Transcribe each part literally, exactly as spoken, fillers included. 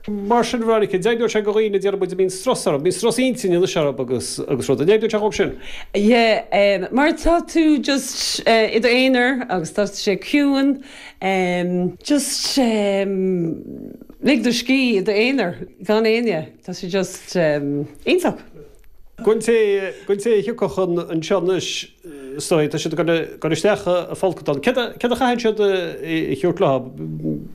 Mar sin Veronica, deimhneoidh sé go dhaoine déarfaidh muid a mbíonn strus orthu, bíonn strus intinne anois orthu agus agus rud, an deimhneoidh sé dhóibh sin? Yeah, um, mar tá tú just uh, i d'aonar agus tá sé ciúin, um, just um, lig do scíth i d'aonar gan éinne, tá sé just um, iontach. Don té don té a thiocfadh anseo anois is dóigh, tá siad ag dul isteach i bhfolcadán. Céard a chaitheann siad a thabhairt leo?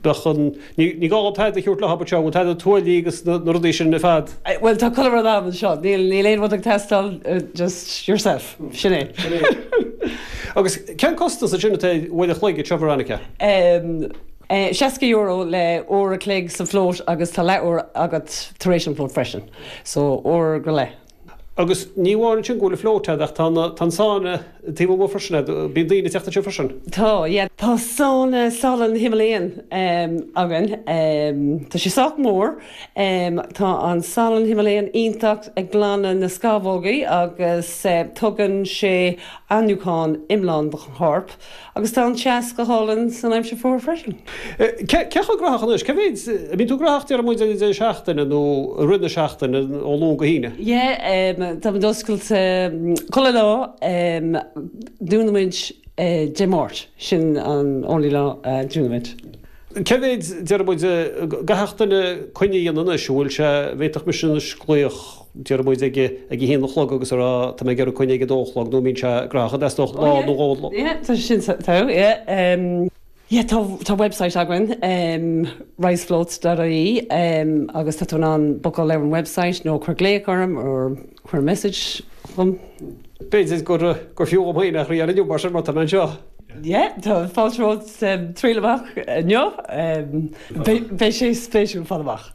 Bheadh an, ní gá dóibh tada a thabhairt leo anseo, bhfuil tada tuáillí agus na rudaí sin ar fad? Bhuel tá chuile rud agam anseo, níl níl aon rud ag teastáil, just yourself, sin é. Sin é. Agus cén costas ansin atá ar uair a chloig anseo Veronica? Seasca euro le uair a chloig sa float agus tá leathuair agat tar éis an float freisin. So uair go leith. Agus ní amháin sin go bhfuil float ach tá tá an sauna taobh amuigh freisin, bíonn daoine ag teacht anseo freisin. Tá, yeah. Tá sauna salann Himalayan um, againn. Um, tá sé sách mór. Um, tá an salann Himalayan iontach ag glanadh na scamhógaí agus uh, tugann sé athnuachan iomlán do chorp. Agus tá an teas go hálainn san aimsir fuar freisin. Cé chomh gnóthach anois? Cé mhéid, an mbíonn tú gnóthach déarfaidh muid ar an deireadh seachtaine nó i rith na seachtaine ó Luan go hAoine? Yeah, um, tá muid oscailte chuile lá, um, dúnann muid uh, Dé Máirt, sin an only lá uh, dúnann muid. Cé mhéid déarfaidh muid gcaithfeadh duine coinne a dhéanamh anois, an bhfuil sé, bhféadfadh mise anois glaoch déarfaidh muid ag ag a haon a chlog agus a rá tá mé ag iarraidh coinne ag a dó a chlog nó an mbíonn sé gnóthach an dteastódh lá nó dhó lá. Yeah, tá sin tá, yeah. Um, yeah, tá, tá website againn, um, risefloats.ie um, agus tá tú in ann bookáil ar an website nó cuir glaoch orm or cuir message chugam. B'fhéidir gur gur fiú dhom féin a thriail inniu mar sin mar tá mé anseo. Yeah, tá fáilte romhat um, triail amach inniu. Um, beidh sé spéisiúil fáil amach.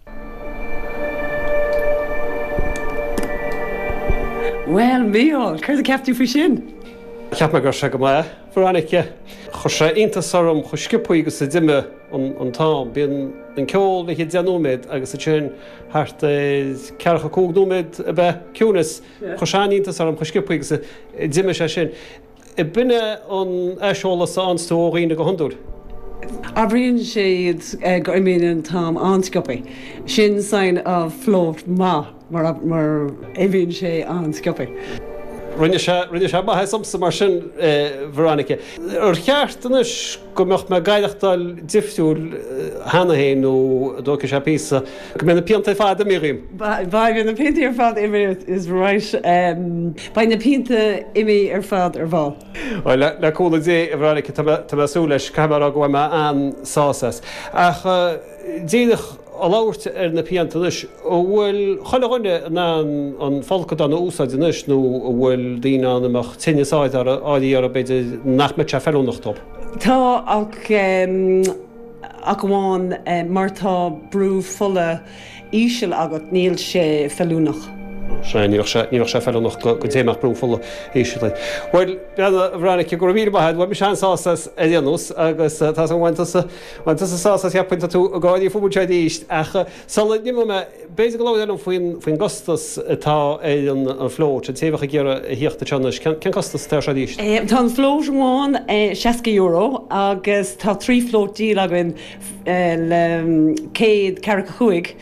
Well, Mícheál, céard a cheap tú faoi sin? Cheap mé go raibh sé go maith, Veronica. Chuir sé iontas orm chomh sciobtha agus a d'imigh an t-am. Bíonn an ceol le deich nóiméad agus ansin thart ar ceathracha cúig nóiméad ab ea ciúnas. Chuir sé an-iontas orm chomh sciobtha agus a d'imigh sé sin. B'in é an aiseolas a fhaigheanns tú ó dhaoine go hiondúil. Abraíonn siad go imíonn an t-am an-sciobtha. Sin sign of float maith mar mar imíonn sé an-sciobtha. Rinne sé rinne sé maitheas domsa mar sin, Veronica. Ar cheart anois go mbeadh mé ag aireachtáil difriúil cheana féin nó an dtógfaidh sé píosa go mbeidh na pianta ar fad imithe dhíom? Beidh na pianta ar fad imithe is right. Beidh na pianta imithe ar fad ar ball. Bhuel, le cúnamh Dé, a Veronica, tá mé ag súil leis, caithfidh mé a rá go bhfuil mé an-sásta as. Ach díreach ag labhairt ar na pianta anois, an bhfuil chuile dhuine in ann an folcadán a úsáid anois nó an bhfuil daoine ann a mbeadh tinneas áirithe orthu b'fhéidir nach mbeadh sé feiliúnach dóibh? Tá, ach ach amháin mar tá brú fola íseal agat níl sé feiliúnach. Sea, ní bheadh sé, ní bheadh sé feiliúnach go dté a mbeadh brú fola íseal air. Bhuel, a Veronica, go raibh míle maith agat, bhain mise an-sásamh as ar aon nós agus tá 's agam bhain tusa, bhain tusa sásamh as cheapfainn tá tú ag gáirí fúm anseo arís ach sula n-imeoidh mé, b'fhéidir go labhrófá liom faoin, faoin gcostas atá ar an, an float, an té a bheadh ag iarraidh a thíocht anseo anois, cén, cén costas atá air seo arís? Tá an float amháin seasca euro agus tá trí float deal againn le céad ceathracha cúig.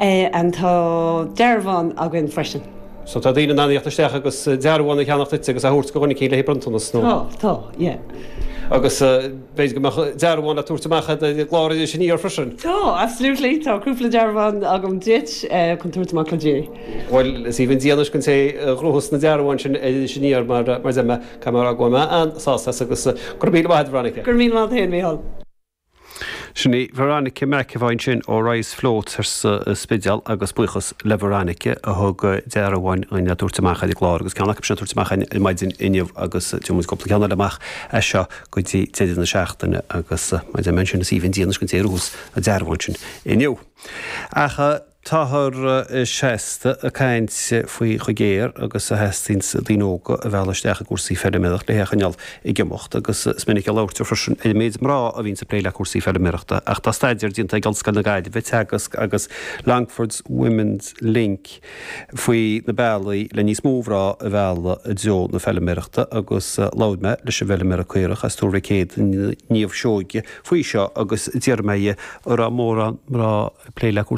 And tá dearbhán againn freisin. So tá daoine in ann a thíocht isteach agus dearbhán a cheannacht duitse agus a thabhairt do dhuine eicínt le haghaidh bronntanas nó? Tá, tá, yeah. Agus b'fhéidir go mbeadh dearbhán le tabhairt amach ar an gclár Iris Aniar freisin? Tá, absolutely, tá cúpla dearbhán agam duit chun tabhairt amach le Dia. Bhuel, is aoibhinn Dia anois don té a ghnóthós na dearbháin sin ar Iris Aniar mar mar deir mé, caithfidh mé a rá go bhfuil mé an-sásta as agus go raibh míle maith agat, Veronica. Go raibh míle maith agat féin, Mícheál. Sin í Veronica McEvoy ansin ó Rise Floats sa Spidéal agus buíochas le Veronica a thug dearbháin dhúinn le tabhairt amach ar an gclár agus ceann acu sin le tabhairt amach ar maidin inniu agus tabharfaidh muid cúpla ceann eile amach as seo go dtí deireadh na seachtaine agus mar a deir mé ansin is aoibhinn Dia anois don té a ghnóthós an dearbhán sin inniu. Ach. Táthar seasta ag caint faoi chomh géar agus a theastaíonns daoine óga a mhealladh isteach i gcúrsaí feilméarachta le hé a choinneáil ag imeacht agus is minic a labhraítear freisin ar an méid mná a bhíonns ag plé le cúrsaí feilméarachta ach tá staidéar déanta ag Ollscoil na Gaillimhe, Teagasc agus Longford's Women's Link faoi na bealaí le níos mó mná a mhealladh i dtreo na feilméarachta agus labhair mé leis an bhfeilméara caorach as Tuar Mhic Éadaigh, Niamh Seoige faoi seo agus d'iarr mé dhi an raibh mórán mná ag plé le cúrsaí